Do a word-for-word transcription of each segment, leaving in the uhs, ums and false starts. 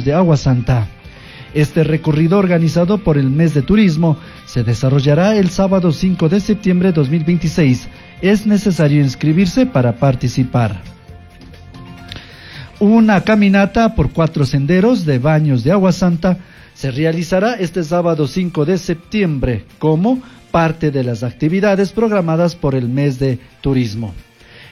Baños de Agua Santa. Este recorrido organizado por el mes de turismo se desarrollará el sábado cinco de septiembre de dos mil veintiséis. Es necesario inscribirse para participar. Una caminata por cuatro senderos de Baños de Agua Santa se realizará este sábado cinco de septiembre como parte de las actividades programadas por el mes de turismo.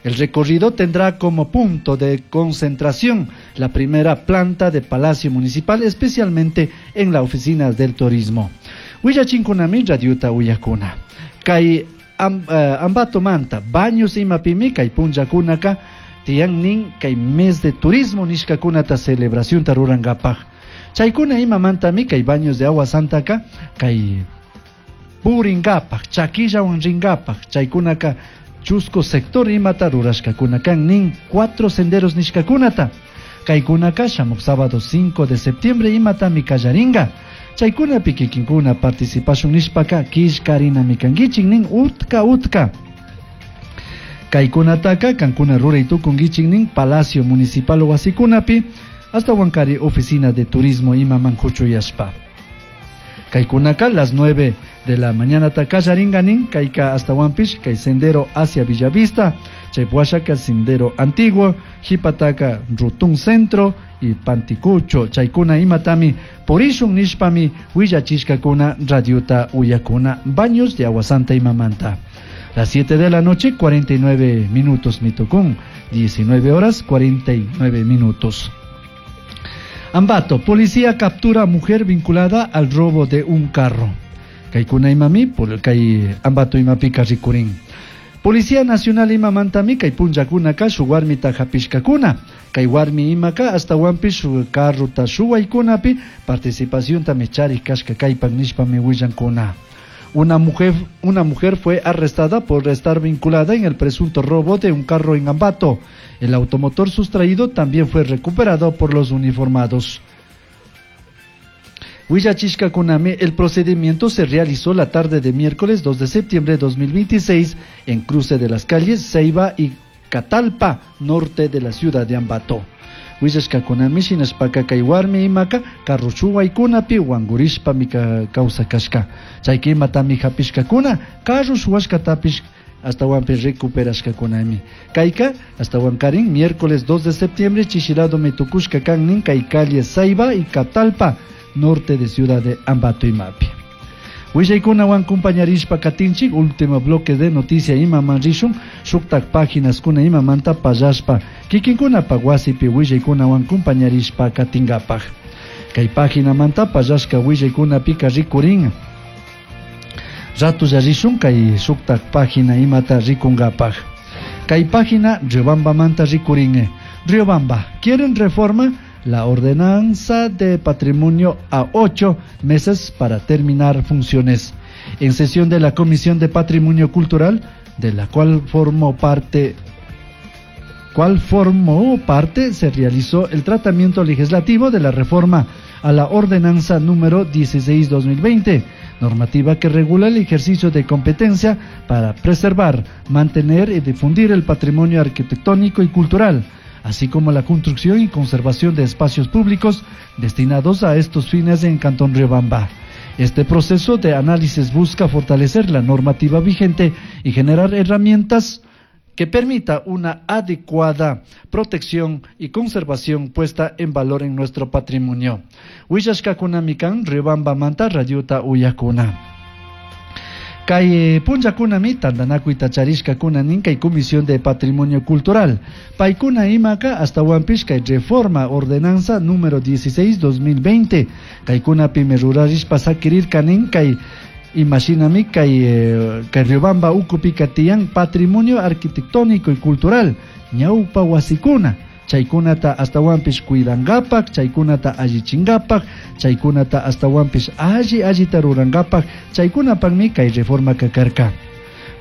El recorrido tendrá como punto de concentración la primera planta de Palacio Municipal, especialmente en la oficina del turismo. Willachinkunami radiota uyakuna. Kay am, eh, ambato manta, Baños imapimi kay punllakunaka tiyan kay mes de turismo nishkakunata celebración tarurangapaj. Chaykuna imamantami kay Baños de Agua Santaka kay puringapaj, chakillawan ringapaj, chaykunaka chusco sector imata rurashkakuna kan nin cuatro senderos nishkakunata. Kaykunaka shamuk sábado cinco de septiembre imatami kallaringa. Chaykunapi kikinkuna participashun nishpaka killkarinami kankichik nin utka utka. Kaykunataka kankuna ruray tukunkichik nin Palacio Municipal wasikunapi hasta Huancari oficina de turismo imaman huchuyashpa. Kaykunaka las nueve de la mañana takallaringa nin kayka hasta Huampish kay sendero hacia Bellavista, chaypuashaka sendero antiguo, jipataka Rutún Centro y Panticucho, chaykuna imatami purishun nishpami willachishkakuna radiota uyakuna Baños de Agua Santa imamanta. Las siete de la noche, cuarenta y nueve minutos mitocún, diecinueve horas cuarenta y nueve minutos. Ambato, policía captura mujer vinculada al robo de un carro. Kaikuna imami, por kay Ambato imapi karrikurin. Policía Nacional imamantami kay punllakunaka shuwarmita hapishkakuna. Kay warmi imaka hasta wampi shu carrota shuwaykunapi participación tami charik kashka kaypak nishpami willankuna. Una mujer, una mujer fue arrestada por estar vinculada en el presunto robo de un carro en Ambato. El automotor sustraído también fue recuperado por los uniformados. Huillachishkakunami, el procedimiento se realizó la tarde de miércoles dos de septiembre de dos mil veintiséis en cruce de las calles Ceiba y Catalpa, norte de la ciudad de Ambato. Huillashkakunami shinashpaka kay warmi imaka carrushuwaykunapi wangurishpa mika causa kashka. Chayki imatami hapishkakuna carrushuwashkatapish hasta wampi recuperashkakunami. Kayka hasta wankarin miércoles dos de septiembre chishilado mitukushka kannin kay calle Ceiba y Catalpa, norte de ciudad de Ambato imapi. Willaykunawan compañarishpa katinchik último bloque de noticia imaman rishun shuktak páginas kuna imamanta pallashpa kikinkunapa wasipi willaykunawan compañarishpa katingapaj. Kay página manta pallashka willaykunapika rikurin. Ratulla rishun kay shuktak página imata rikungapaj. Kay página Riobamba manta rikurin. Riobamba, ¿quieren reforma? La ordenanza de patrimonio a ocho meses para terminar funciones. En sesión de la Comisión de Patrimonio Cultural, de la cual formó parte, cual formó parte, se realizó el tratamiento legislativo de la reforma a la ordenanza número dieciséis dos mil veinte, normativa que regula el ejercicio de competencia para preservar, mantener y difundir el patrimonio arquitectónico y cultural, así como la construcción y conservación de espacios públicos destinados a estos fines en Cantón Riobamba. Este proceso de análisis busca fortalecer la normativa vigente y generar herramientas que permita una adecuada protección y conservación puesta en valor en nuestro patrimonio. Huillashkakunamikan, Riobamba manta, radiota uyakuna. Kay punllakunami tantanakuyta charishkakuna nin kay Comisión de Patrimonio Cultural. Paykuna imaka hasta wampish kay reforma ordenanza número dieciséis dos mil veinte. Kaykunapimi rurarishpa sakirirka nin kay imashinami kay, eh, kay Riobamba ukupika tiyan patrimonio arquitectónico y cultural ñawpa wasikuna. Chaykunata hasta wampish cuidangapak, chaykunata allichingapak, chaykunata hasta wampish alli allita rurangapak, chaykunapakmi kay reforma kakarka.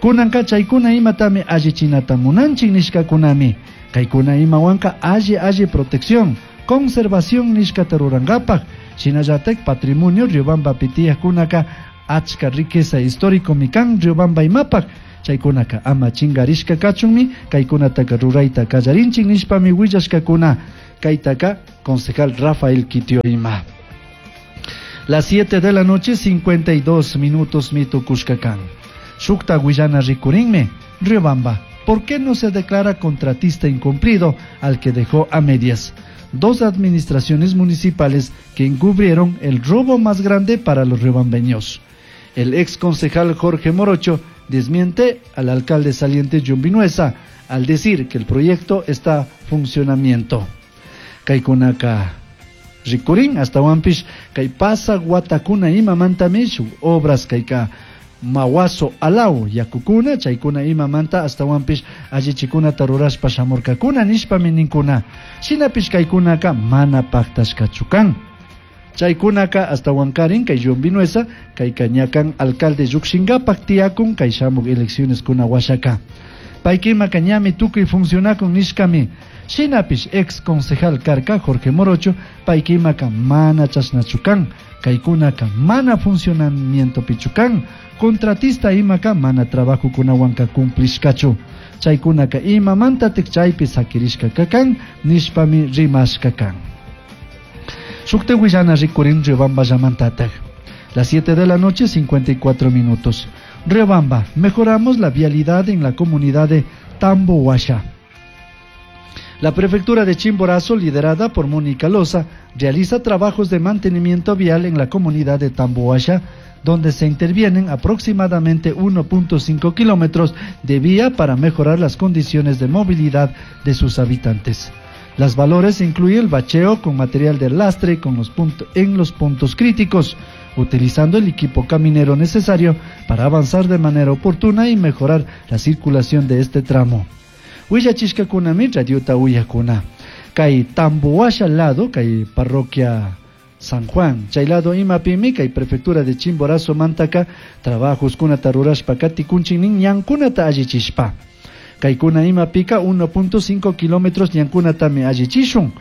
Kunanka chaykuna imatami allichinata munanchik nishkakunami, kaykuna imawanka alli alli protección, conservación nishkata rurangapak, shinallatak patrimonio Riobamba pitiyajkunaka achka riqueza histórico mikan Riobamba imapak, chaykunaka ama chingarishka kachunmi kaykunataka rurayta kallarinchik nishpami willashkakuna. Kaitaka concejal Rafael Kitioima. Las siete de la noche, cincuenta y dos minutos mitukushkakan. Shukta Guillana rikurinme, Riobamba, ¿por qué no se declara contratista incumplido al que dejó a medias? Dos administraciones municipales que encubrieron el robo más grande para los riobambeños. El ex concejal Jorge Morocho desmiente al alcalde saliente John Vinuesa al decir que el proyecto está funcionamiento. Kaikunaka rikurin hasta wampish kay pasa guatakuna imamantami shuk obras kayka mawaso alaw yakukuna chaykuna imamanta hasta wampish allichikunata rurashpa shamurkakuna nishpami ninkuna shinapish kaykunaka mana paktashkachu kan. Chaykunaka hasta wankarin kay John Vinuesa kayka ñakan alcalde llukshinkapak tiyakun kay shamuk elecciones kuna washaka. Paykimaka ñami tukuy funcionakun nishkami. Shinapish ex concejal karka Jorge Morocho paykimaka mana chashnachu kan, kaykunaka mana funcionamiento pichukan, contratista imaka mana trabajo kunawanka cumplishkachu. Chaykunaka imamantatik chaypi sakirishka kakan nishpami rimashka kan. Shukte willana rikurin Riobamba llamantatak. Las siete de la noche, cincuenta y cuatro minutos. Riobamba, mejoramos la vialidad en la comunidad de Tambohuasha. La prefectura de Chimborazo, liderada por Mónica Loza, realiza trabajos de mantenimiento vial en la comunidad de Tambohuasha, donde se intervienen aproximadamente uno punto cinco kilómetros de vía para mejorar las condiciones de movilidad de sus habitantes. Las valores incluyen el bacheo con material de lastre con los punto, en los puntos críticos, utilizando el equipo caminero necesario para avanzar de manera oportuna y mejorar la circulación de este tramo. Huillachishkakunami radiota uyakuna. Kay Tambohuasha lado, kay parroquia San Juan, chay lado imapimi, kay prefectura de Chimborazo mantaka, trabajos kunata rurashpa katikunchinin ñankunata allichishpa. Kaykuna imapika uno punto cinco kilómetros ñankunatami allichishun.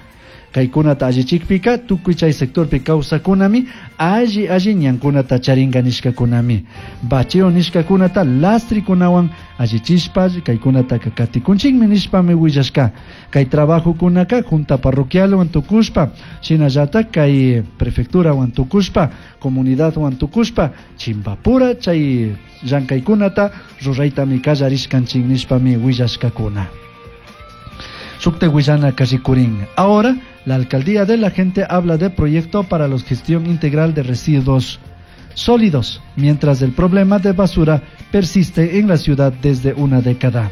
Kaykunata allichikpika tukuy chay sectorpi kawsakunami alli alli ñankunata charinga nishkakunami. Bacheo nishkakunata lastrikunawan allichishpa kaykunataka katikunchikmi nishpami willashka. Kay trabajokunaka junta parroquialwan tukushpa, shinallata kay prefecturawan tukushpa, comunidadwan tukushpa, chimbapura chay llankaykunata ruraytami kallarishkanchik nishpami willashkakuna. Shukte willana kashikurin. Ahora, la alcaldía de la gente habla de proyecto para la gestión integral de residuos sólidos, mientras el problema de basura persiste en la ciudad desde una década.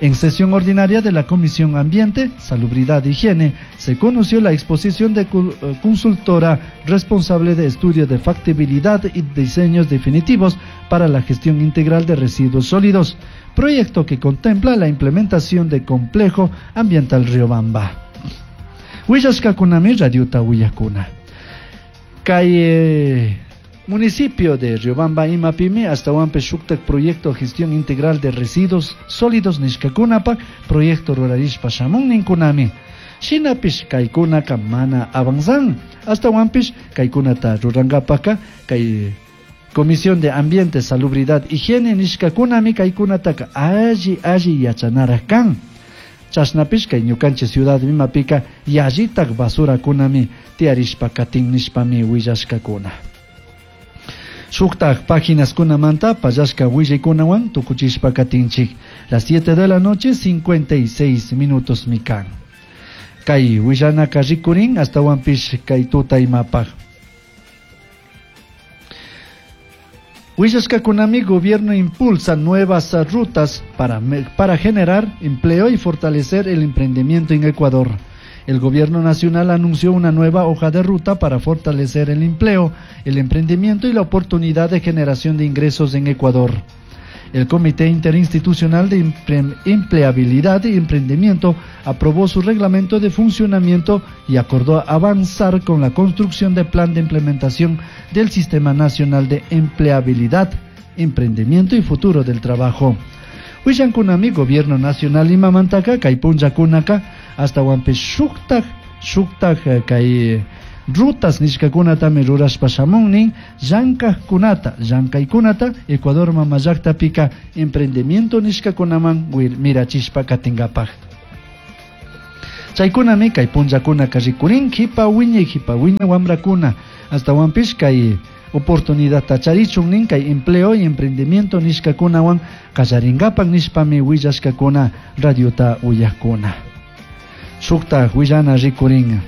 En sesión ordinaria de la Comisión Ambiente, Salubridad e Higiene, se conoció la exposición de cu-, eh, consultora responsable de estudio de factibilidad y diseños definitivos para la gestión integral de residuos sólidos, proyecto que contempla la implementación de complejo ambiental Riobamba. Huillashkakunami radiota huyakuna. Kay municipio de Riobamba imapimi hasta huampe shuktak proyecto gestión integral de residuos sólidos nishkakunapa proyecto rurarishpa shamun ninkunami. Shinapish kaykunaka mana avanzan hasta huampish kaykunata rurangapaka kay Comisión de Ambiente, Salubridad, Higiene nishkakunami kaykunataka alli alli yachanara kan. Chashnapish kay ñukanchik ciudad imapika yallitak basurakunami tiyarishpa katin nishpami willashkakuna. Shuktak páginas kunamanta pallashka willaykunawan tukuchishpa katinchik. Las siete de la noche, cincuenta y seis minutos mikan. Kay willanaka rikurin hasta wampish kay tuta imapaj. Huillashkakunami gobierno impulsa nuevas rutas para me-, para generar empleo y fortalecer el emprendimiento en Ecuador. El gobierno nacional anunció una nueva hoja de ruta para fortalecer el empleo, el emprendimiento y la oportunidad de generación de ingresos en Ecuador. El Comité Interinstitucional de Empre-, Empleabilidad y Emprendimiento aprobó su reglamento de funcionamiento y acordó avanzar con la construcción de plan de implementación del Sistema Nacional de Empleabilidad, Emprendimiento y Futuro del Trabajo. Huillankunami, Gobierno Nacional imamantaka, kaypunllakunaka, hasta huampe shuktak, shuktak, eh, kay rutas nishkakunatami rurashpa shamunnin, llankajkunata, llankaykunata, Ecuador mamallaqtapika emprendimiento nishkakunaman wir-, mirachishpa katingapaj. Chaykunami kay punllakunaka rikurin jipa wiñay jipa wiñay wamrakuna astawanpish kay oportunidad charichun nin kay empleo y emprendimiento nishkakunawan qallarinkapak nishpami willashkakuna radiota uyakuna. Shukta willana rikurin.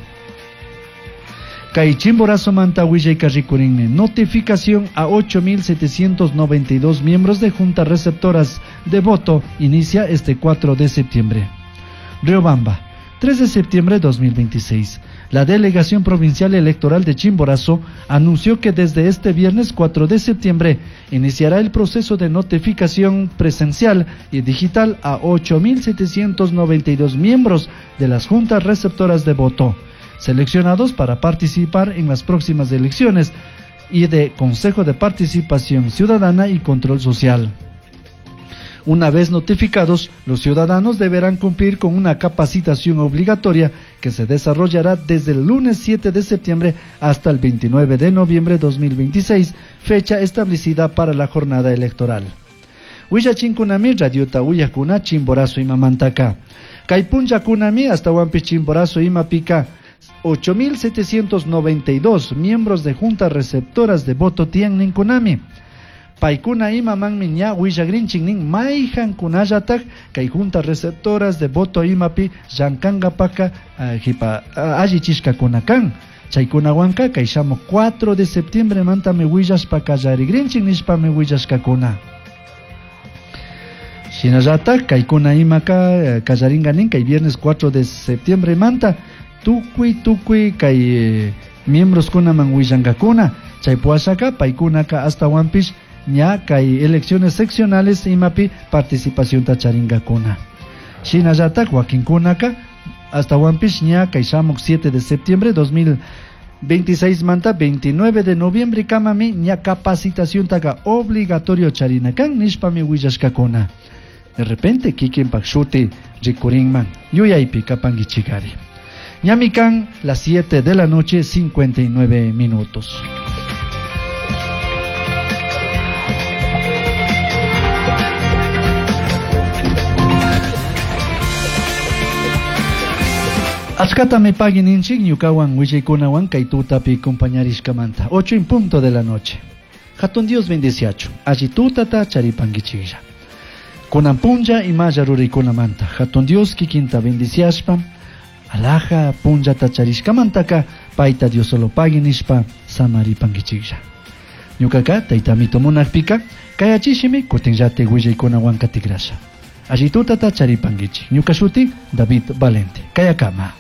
Kay Chimborazo manta willayka rikurinmi. Notificación a ocho mil setecientos noventa y dos miembros de juntas receptoras de voto inicia este cuatro de septiembre. Riobamba, tres de septiembre de dos mil veintiséis. La Delegación Provincial Electoral de Chimborazo anunció que desde este viernes cuatro de septiembre iniciará el proceso de notificación presencial y digital a ocho mil setecientos noventa y dos miembros de las juntas receptoras de voto, seleccionados para participar en las próximas elecciones y de Consejo de Participación Ciudadana y Control Social. Una vez notificados, los ciudadanos deberán cumplir con una capacitación obligatoria que se desarrollará desde el lunes siete de septiembre hasta el veintinueve de noviembre de dos mil veintiséis, fecha establecida para la jornada electoral. Huillachinkunami radiota uyakuna Chimborazo imamantaka. Kay punllakunami hasta huampi Chimborazo imapika ocho mil setecientos noventa y dos miembros de juntas receptoras de voto tienen kunami. Paykuna imamanmi ña willagrinchik nin mayhankunallatak kay juntas receptoras de voto imapi llankankapaka, eh, jipa, eh, allichishkakuna kan. Chaykunawanka kay shamuq cuatro de septiembre mantami willashpa kallarigrinchik nishpami willashkakuna. Shinallatak kaykuna imaka, eh, kallarinka nin kay viernes cuatro de septiembre manta tukuy tukuy kay, eh, miembros kunaman willankakuna. Chay puashaka paykunaka astawanpish ña kay elecciones seccionales imapi participación tacharingakuna. Shinallatak wakinkunaka astawanpish ña kay shamuq siete de septiembre dos mil veintiséis manta veintinueve de noviembre kamami ña capacitación taka obligatorio charinakan nishpami willashkakuna. De repente kikinpak shuti rikurinman yuyaypi kapankichikari. Ñamikan las siete de la noche cincuenta y nueve minutos. Achkatami pagui ninchik ñukawan willaykunawan kay tutapi compañarishkamanta. Ocho en punto de la noche. Hatun Dios bendeciachu. Alli tutata charipankichiklla. Kunan punlla imalla ruraykunamanta. Hatun Dios kikinta bendiciashpa. Alaja punllata charishkamantaka payta Dios solo pagui nishpa samaripankichiklla. Ñukaka taytamito munakpika kayachishimi kutinllate willaykunawan katikrasha. Alli tutata charipankichik. Ñuka shuti David Valente. Kayakama.